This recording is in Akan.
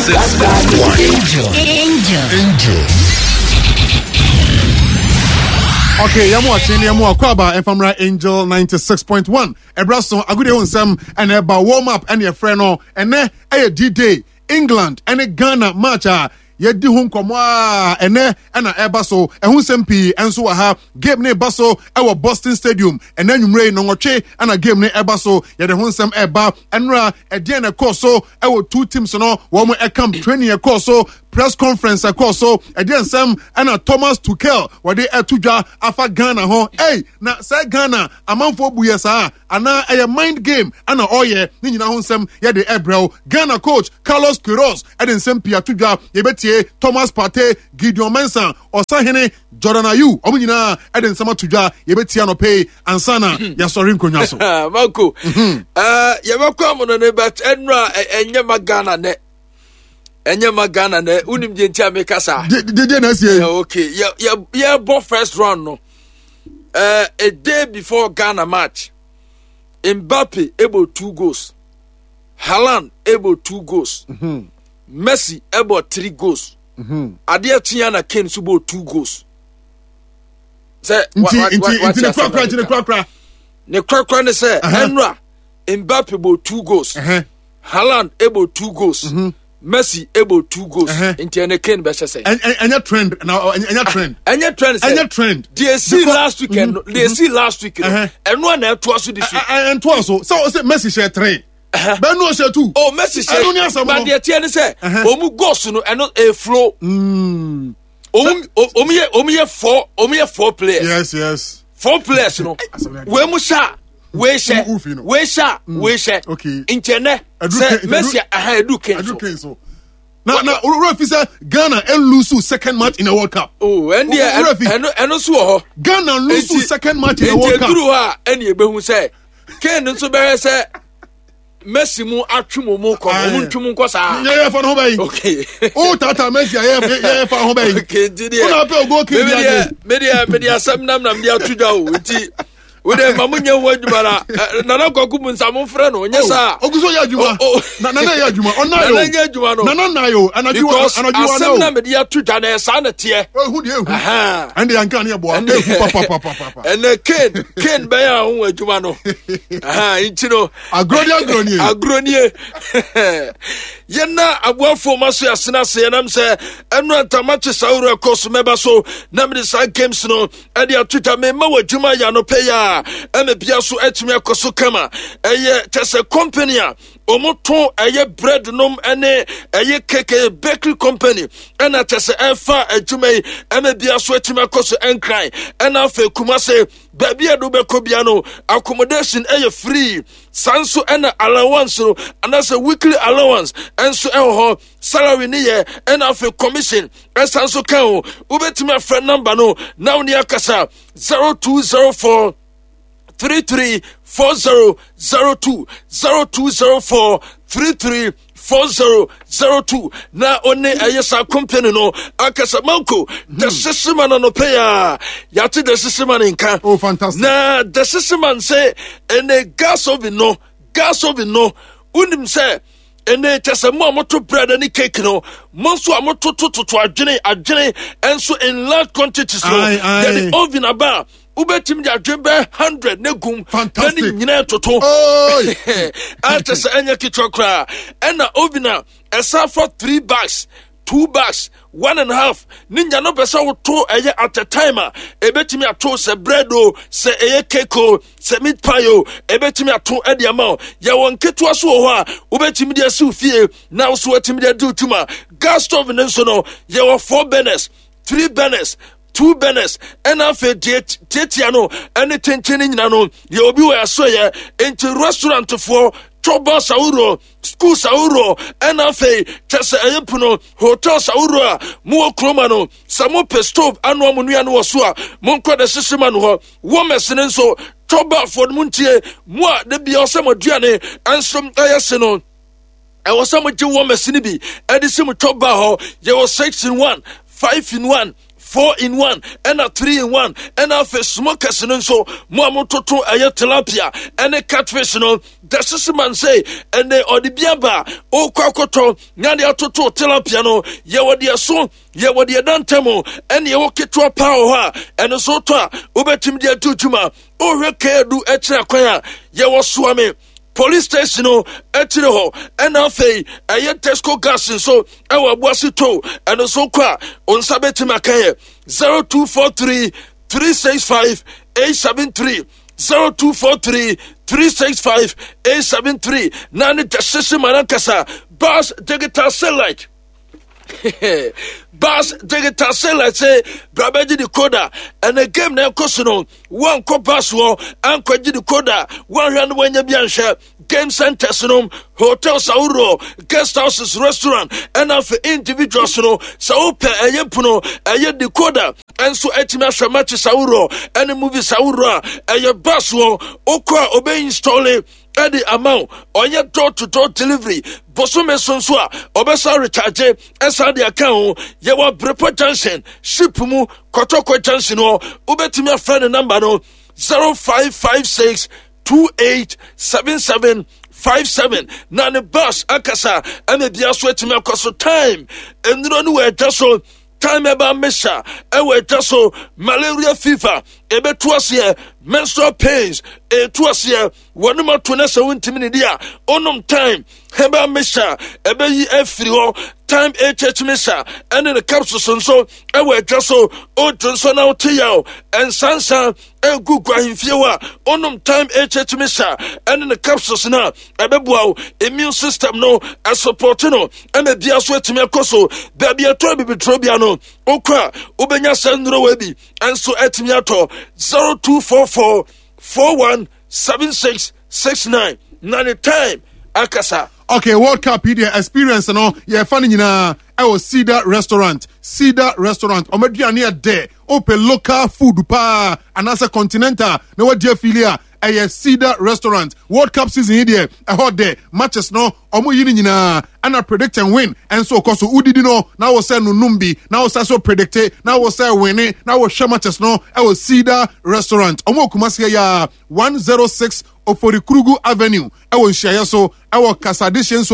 96.1. Angel. Angel. Angel. Okay, yɛn mu ɔkye ne yɛn mu akɔ aba mfamra Angel 96.1 ɛbrɛ so agudie ho nsɛm ɛna ɛba warm up ɛna ɛfrɛ no ɛnɛ ɛyɛ D-Day England ɛne Ghana match a yɛdi ho nkɔmmɔ a ɛnɛ ɛna ɛba so ɛho nsɛm pii ɛnso wɔ ha game ne ba so ɛwɔ Boston Stadium ɛnɛ anwummerɛ yi nɔnwɔtwe ɛna game ne ɛba so yɛde ho nsɛm ɛba ɛnora ɛdeɛn na ɛkɔɔ so ɛwɔ two teams no wɔn ɛkam training ɛkɔɔ so press conference ɛkɔɔ so ɛdeɛ nsɛm ɛna Thomas Tuchel wɔde ɛto dwa afa Ghana ho ei na sɛ Ghana amanfoɔ bu yɛ saa anaa ɛyɛ mind game ɛna ɔyɛ ne nyinaa ho nsɛm yɛde ɛbrɛw Ghana coach Carlos Queiroz ɛde nsɛm pii ato dwa yɛbɛtie Thomas Partey Gideon Mensah Ɔsahene Jordan Ayew wɔn nyinaa ɛde nsɛm ato dwa yɛbɛtie anɔpɛ yi ansa na yɛasɔre nkonnwa so. Manko mhm. eh, yɛbɛkɔ amono ne but ɛnura ɛnyɛ ma Ghana nɛ ɛnyɛ ma Ghana nɛ wonim deɛ nti a meka saa. Deɛ na asie. Eh, okay yɛbɔ first round no uh, a day before Ghana match Mbappe able two goals Haaland able two goals mm -hmm. Messi ɛbɔ three goals. Mhm. Adeɛ kye na Kane nso bɔ two goals. Sɛ nti nti nti ne korakora nti ne korakora. Ne korakora ne sɛ ɛnura Mbappe bɔ two goals. Haaland ɛbɔ two goals. Mm -hmm. Messi ɛbɔ two goals. Nti ɛne Kane bɛhyɛ sɛ. Ɛnyɛ trend na ɛnyɛ trend. Ɛnyɛ trend sɛ. Ɛnyɛ trend. Deɛ esi last week ɛno deɛ esi last week no ɛno a na ɛtoa so this week. Ɛntoa so sɛ ɔsɛ Messi hyɛ three. bɛn no ɔhyɛ tu. o Messi hyɛ ɛno ne asɛm no but deɛ teɛ ne sɛ ɔmu goals no ɛno eflo. Ɔmu ɔmu yɛ ɔmu yɛ four ɔmu yɛ four players. Yes. Four players no wei mu hyɛ a wei hyɛ wei hyɛ a wei hyɛ nkyɛn nɛ sɛ Messi aha edu Kane so. Na wura fi sɛ Ghana lose second match in the World Cup. Oh, ɛn deɛ ɛno ɛno so wɔ hɔ. Ghana lose second match in the World Cup. Nti eduru hɔ a ɛna ebehu sɛ Kane nso bɛyɛ sɛ Messi mu atwe mu mu kɔ no, ɔmo ntwe mu nkɔ saa. Yɛ yɛ fa no ho bɛyi. Okay. O tata Messi a yɛ yɛ fa ho bɛyi. Okay, nti deɛ. O na apɛ ogo kiri di adi. Me deɛ me deɛ asɛm nam nam de ato dwa o nti wo deɛ ma mo nyɛ ho adwuma na nana kwaku mu nsa mo frɛ no nyɛ saa. Ogu so yɛ adwuma. Nana yɛ adwuma ɔna yo. Nana nyɛ adwuma no. Nana na yo anadwo because anadwo wa na asɛm o. na me de ato dwa na ɛsaa na teɛ. Ehu deɛ ehu. Ɛnde yanka ne ɛboa ehu papapapapa. Ɛnɛ Kane Kane bɛyɛ a ho adwuma no. Nti no. Agorɔ ni agorɔ nie. Agorɔ nie. Yɛn na aboafoɔ ma so yɛasena ase yɛnam sɛ ɛno ntama kye saa wura kɔ so mɛba so na mede saa games no ɛde ato dwa mema wɔ adwuma yɛ anɔpɛ yi a ɛma bia so atumi akɔ so kama ɛyɛ kyɛ sɛ company a wɔto ɛyɛ bread nom ɛne ɛyɛ cake ɛyɛ bakery company ɛna kyɛ sɛ ɛfa adwuma yi ɛma bia so atumi akɔ so ɛnkran ɛna afei Kumase baabi a ɛde wobɛkɔ bia no accommodation ɛyɛ free saa nso ɛna allowance no anaasɛ weekly allowance ɛnso ɛwɔ hɔ salary ne yɛ ɛna afei commission ɛsan nso ka ho wobɛtumi afrɛ number no na wo ne akasa 0204 33 4002 0204 33 4002 na ɔne ɛyɛ saa company no akasa manko the sesema no anɔpɛ yi a yɛate the sesema no nka oh, fantastic. na the sesema sɛ ɛnɛ gas oven no gas oven no wonim sɛ ɛnɛ kyɛ sɛ mo a moto bread ne cake no mo nso a mototototo adwene adwene nso in large quantities no yɛde oven aba a wobɛtumi de adwene bɛyɛ 100 ne gum na ne nyinaa toto akyɛ sɛ ɛnyɛ ketewa koraa ɛna oven a ɛsan fa 3 bags 2 bags 1.5 ne nya no pɛ sɛ woto ɛyɛ at a time a ɛbɛtumi ato sɛ bread o sɛ ɛyɛ cake o sɛ meat pie o ɛbɛtumi ato ɛde ama o yɛwɔ nketewa so wɔ hɔ a wobɛtumi de asiw fie na wo so watumi de adi wo tuma gas stove no nso no yɛwɔ 4 burners 3 burners 2 burners ɛna afei deɛ tiatia no ɛne tenten no nyina no yɛ obi wɔ ɛso yɛ nti restaurantfoɔ chɔbɔs ahoroɔ schools ahoroɔ ɛna afei kyɛ sɛ ɛyɛ pono hotels ahoroɔ a mowɔ kuroma no sɛ mopɛ stove anoa mo nnuane wɔ so a monkɔ de hyehye ma no hɔ wɔmɛs no nso chɔbafoɔ no montie mo a da bia ɔsɛ mo aduane ɛnso ɛyɛ se no ɛwɔ sɛ mogye wɔmɛs no bi ɛde si mo chɔba hɔ yɛwɔ 6 in 1 5 in 1. 4 in 1 ɛna 3 in 1 ɛna afei smokers no nso mo a mototo ɛyɛ tilapia ɛne catfish no the sisi man sɛ ɛnɛ ɔde bi aba a ɔrekɔ akɔtɔ na de atoto tilapia no yɛwɔ deɛ so yɛwɔ deɛ da ntam ɛne ɛwɔ ketewa paa wɔ hɔ a ɛno nso tɔ a wobɛtumi de atu dwuma. Wohwɛ keedu akyerɛ kwan a yɛwɔ Soame police station no akyire hɔ, ɛna afei ɛyɛ Tesco gas nso ɛwɔ Abuase to, ɛno nso kɔ a wo nsa bɛtumi aka yɛ 0243 365 873, 0243 365 873 na ne gyɛhyehye ma no ankasa Bas Digital Satellite. Bas digital satellite sɛ bra bɛgye decoder. Ɛnɛ game na ɛkɔ so no, woankɔ bas hɔ ankɔgye decoder, woanhwɛ no woanya bi anhwɛ. Game centers no, hotels ahoroɔ, guest houses, restaurant, ɛna afei individuals no, sɛ wopɛ ɛyɛ pono ɛyɛ decoder ɛnso atumi ahwɛ matches ahoroɔ ɛne movies ahoroɔ a, ɛyɛ bas hɔ wokɔ a ɔbɛ install ɛde ama wo. Ɔyɛ door to door delivery. Bosome so nso a ɔbɛsa recharge ɛsan de aka ho. Yɛwɔ Abrepɔ Junction ship mu, Kɔtɔkɔ Junction hɔ. Wobɛtumi afrɛ ne namba no 0556 2877 57 na ne bus akasa ɛna bia so atumi akɔ so. Time nnuro no wɔ ɛdwa so. Time ɛba mesa ɛwɔ ɛdwa so. Malaria, fever ɛbɛtu aseɛ, menstrual pains ɛtu aseɛ. Wɔnom ato no sɛ wontumi ne di a, onom Time herbal mixture ɛbɛyi afiri hɔ. Time HH mixture ɛne ne capsules nso ɛwɔ adwa so. Odwo nso na wote yaw ɛnsansa ɛgu gu ahemfie hɔ a, onom Time HH mixture ɛne ne capsules no a, ɛbɛboa wo immune system no, ɛsupɔte no ɛna bia so atumi akɔ so. Baabi ɛtɔ bibituro bia no, wokɔ a wobɛnya saa nnuro wɔ bi ɛnso atumi atɔ. 0244 417669 na ne Time akasa. Okay, World Cup yi deɛ, experience no yɛfa no nyinaa ɛwɔ Cedar Restaurant. Cedar Restaurant, ɔmo aduane yɛ dɛ. Wopɛ local food paa anaasɛ continental na wadi afili a, ɛyɛ Cedar Restaurant. World Cup season yi deɛ, ɛhɔ dɛ. Matches no ɔmo yi no nyinaa, ɛna predict and win ɛnso kɔ so. Wodidi no na wo sɛ nonum bi na wo sɛ so predict na wo sɛ win na wohwɛ matches no ɛwɔ Cedar Restaurant. Ɔmo wɔ Kumasi yɛ 106 Oforikrugu Avenue, ɛwɔ nhyiaeɛ so ɛwɔ Kasadehye nso.